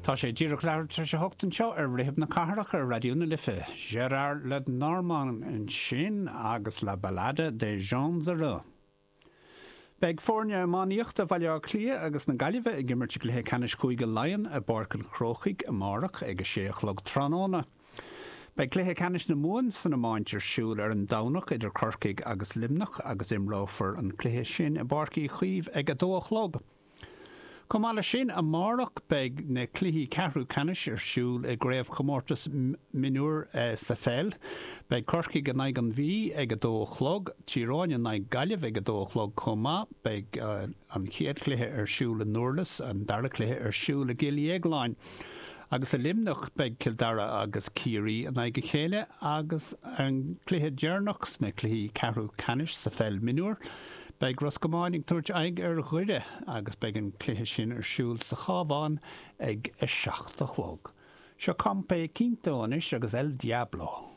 Tá sé díreach leathuair tar éis a hocht anseo ar Rithim na Cathrach ar Raidió na Life. Gérard Lenormand ansin agus La Ballade des Gens Heureux. Beidh foirne iománaíochta Bhaile Átha Cliath agus na Gaillimhe ag imirt i gcluiche ceannais Chúige Laighean i bPáirc an Chrócaigh amárach ag a sé a chlog tráthnóna. Beidh cluiche ceannais na Mumhan san iomáint ar siúl ar an Domhnach idir Corcaigh agus Luimneach agus imreofar an cluiche sin i bPáirc Uí Chaoimh ag a dó a chlog. Chomh maith leis sin, amárach beidh na cluichí ceathrú ceannais ar siúl i gCraobhchomórtas Mionúr sa pheil. Beidh Corcaigh in aghaidh an Mhí ag a dó a chlog, Tír Eoghain in aghaidh Gaillimh ag a dó a chlog chomh maith. Beidh an chéad chluiche ar siúl i nDurlas, an dara cluiche ar siúl i gCill Dhéagláin. Agus i Luimneach beidh Cill Dara agus Ciarraí in aghaidh a chéile agus an cluiche deireanach sna cluichí ceathrú ceannais sa pheil mionúr. Beidh Ros Comáin ag tabhairt aghaidh ar Dhoire agus beidh an cluiche sin ar siúl sa Chabhán ag a 7 a chlog. Seo Compay Quinto anois agus El Diablo.